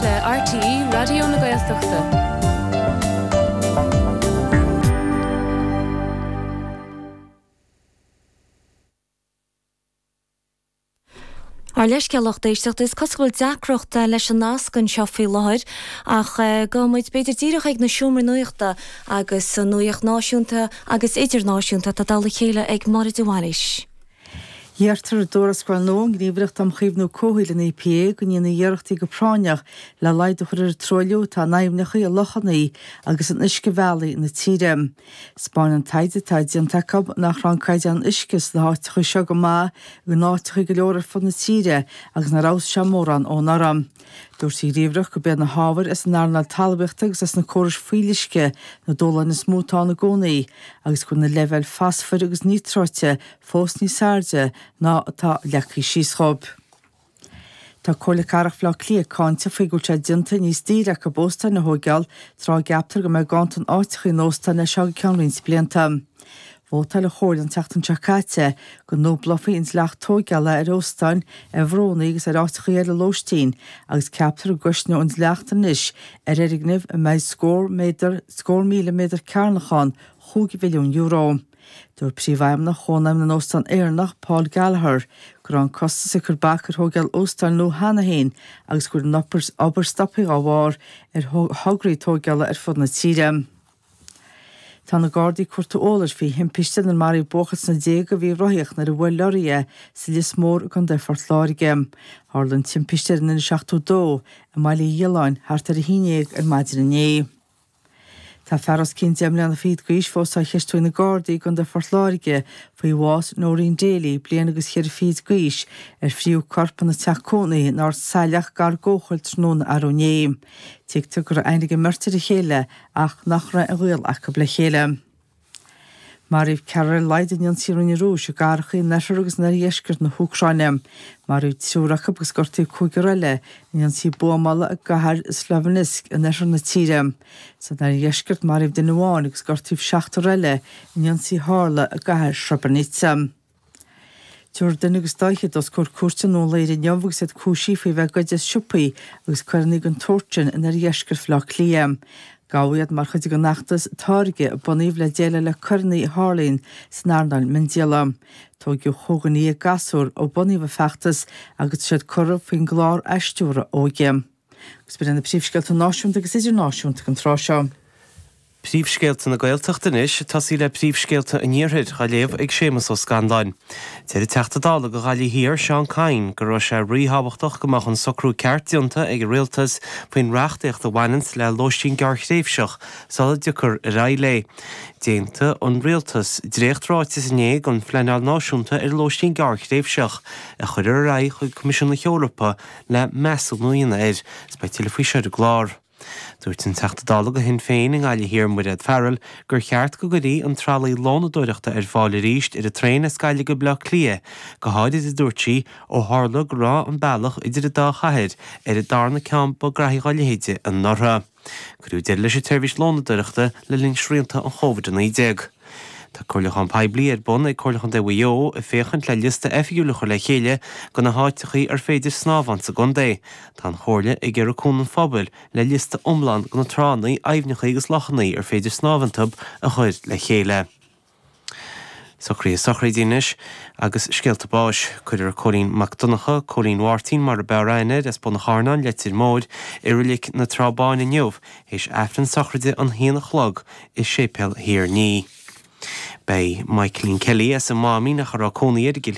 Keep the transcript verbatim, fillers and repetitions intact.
le RTÉ Raidió na Gaeltachta. Ár leithscéal lucht éisteachta is cosúil deacracht leis an nasc anseo faoi láthair ach gabhfaidh muid b'fhéidir díreach ag na seomraí nuachta agus an nuacht náisiúnta agus idirnáisiúnta atá dul le chéile ag Máire de Bhailís. Deirtear i dtuarascáil nua ón nGníomhaireacht um Chaomhnú Comhshaoil an EPA go ndéanfaí iarrachtaí go práinneach le laghdú a chur ar an truailliú atá in aibhneacha, i lochanna agus in uiscebhealaí na tíre. 'Spáin an taighde atá déanta acu nach raibh an caighdeán uisce sna háiteacha seo go maith in áiteacha go leor ar fud na tíre agus nár fheabhsaigh sé mórán ó anuraidh. Dúirt an Ghníomhaireacht gurb iad na hábhair as an earnáil talmhaíochta agus as na córais fuíolluisce na dúshláin is mó atá ann i gcónaí agus go bhfuil na leibhéil fosfair agus níotráite fós níos airde ná atá leagtha síos dhóibh. Tá Comhairle Cathrach Bhaile Átha Cliath cáinte faoi go bhfuil sé déanta níos daoire acu óstáin a thóigeáil tráth a gceaptar go mbeidh ganntan áiteacha in óstáin as seo go ceann roinnt blianta. Vótáil an Chomhairle an tseachtain seo caite go ndúblófaí an dleacht tóigeála ar óstáin, ar bhrúnna agus ar áiteacha eile lóistín agus ceaptar go gcosnóidh an dleacht anois ar fhoirgneamh a mbeidh scór méadar scór míle méadar cearnach ann chúig mhilliún euro. Dúirt Príomhfheidhmeannach Chónaidhm na nÓstán Éireannach, Paul Gallagher, go raibh an costas ag cur bac ar thóigeáil óstáin nua cheana féin agus go bhfuil an obair stoptha dá bharr ar thograí tóigeála ar fud na tíre. Tá na Gardaí ag cuartú eolais faoi thimpiste inar maraíodh buachaill sna déaga a bhí ag rothaíocht nuair a bhuail lorraí é sa Lios Mór i gContae Phort Láirge. Tharla an timpiste ar an N seachtó dó i mBaile Uí Ghiolláin thart ar a haon déag ar maidin inné. Tá fear os cionn deich mbliana fichead d'aois fós á cheistiú ag na Gardaí i gContae Phort Láirge faoi bhás Noreen Daly, bliain agus cheithre fichid d'aois, ar fríodh a corp ina teach cónaithe in Ard Saileach gar d'Eochaill tráthnóna arú inné. Tuigtear go raibh aithne ag an mbeirt ar a chéile ach nach raibh aon ghaol acu le chéile. Maraíodh ceathrar ar a laghad in ionsaí a rinne an Rúis i gcathracha in oirthear agus in oirdheisceart na hÚcráine. Maraíodh triúr acu agus gortaíodh cúigear eile in ionsaí buamála i gcathair Sloviansk in oirthear na tíre. San oirdheisceart maraíodh duine amháin agus gortaíodh seachtar eile in ionsaí a tharla i gcathair Srebrenica. Tabharfar duine agus dá fhichead os comhair cúirte i nDún Laoghaire inniu agus iad cúisithe faoi bheith ag goid as siopaí agus coireanna den tsórt sin in oirdheisceart Bhaile Átha Cliath. Gabhadh iad mar chuid den fheachtas Táirge a bunaíodh le déileáil le coireanna a tharlaíonn san earnáil miondíola. Tóigeadh chúig dhuine dhéag gasúr ó bunaíodh an feachtas agus tá siad curtha faoin gclár athstiúradh óige. Agus b'in iad na príomhscéalta náisiúnta agus idirnáisiúnta don tráth seo. Príomhscéalta na Gaeltachta anois, ag tosaí le príomhscéalta an Iarthair, á léamh ag Séamus Ó Scanláin. Deir an Teachta Dála do Ghaillimh Thiar, Seán Kyne, go raibh sé ríthábhachtach go mbeadh an socrú ceart déanta ag an Rialtas faoin reachtaíocht a bhaineanns le lóistín gearrthréimhseach sula dtiocfar ar aghaidh léi. D'aontaigh an Rialtas dréacht-ráiteas inné don phleanáil náisiúnta ar lóistín gearrthréimhseach, a chuirfear ar aghaidh chuig Coimisiún na hEorpa le measúnú a dhéanamh air. Is beidh tuilleadh faoi seo ar an gclár. Dúirt an Teachta Dála do Shinn Féin i nGaillimh Thiar, Mairéad Farrell, gur cheart go gcuirfí an tralaí lónadóireachta ar fáil arís ar an traein as Gaillimh go Baile Átha Cliath, go háirid, a dúirt sí, ó tharla go raibh an bealach idir an dá chathair ar an darna ceann ba ghraithí dá leithéide anuraidh. Cuireadh deireadh leis an tseirbhís lónadóireachta le linn srianta an Chóvid a naoi déag. Tá comhairliúchán poiblí ar bun ag Comhairle Chontae Mhaigh Eo ag féachaint le liosta oifigiúil a chur le chéile de na háiteachaí ar féidir snámh ann sa gcontae. Tá an Chomhairle ag iarraidh cúnamh an phobail le liosta iomlán de na tránna, aibhneacha agus lochanna ar féidir snámh iontu a chur le chéile. Socruithe sochraide anois agus scéalta báis. Cuirfear Cóilín Mac Donncha, Cóilín Mháirtín mar a b'fhearr aithne air, as Bun an Charnáin, Leitir Móir, i Reilig na Trá Báine inniu, théis Aifreann sochraide an haon a chlog i Séipéal Thír Ní. Beidh Michaelín Kelly as an Máimín ach a raibh cónaí air i gCill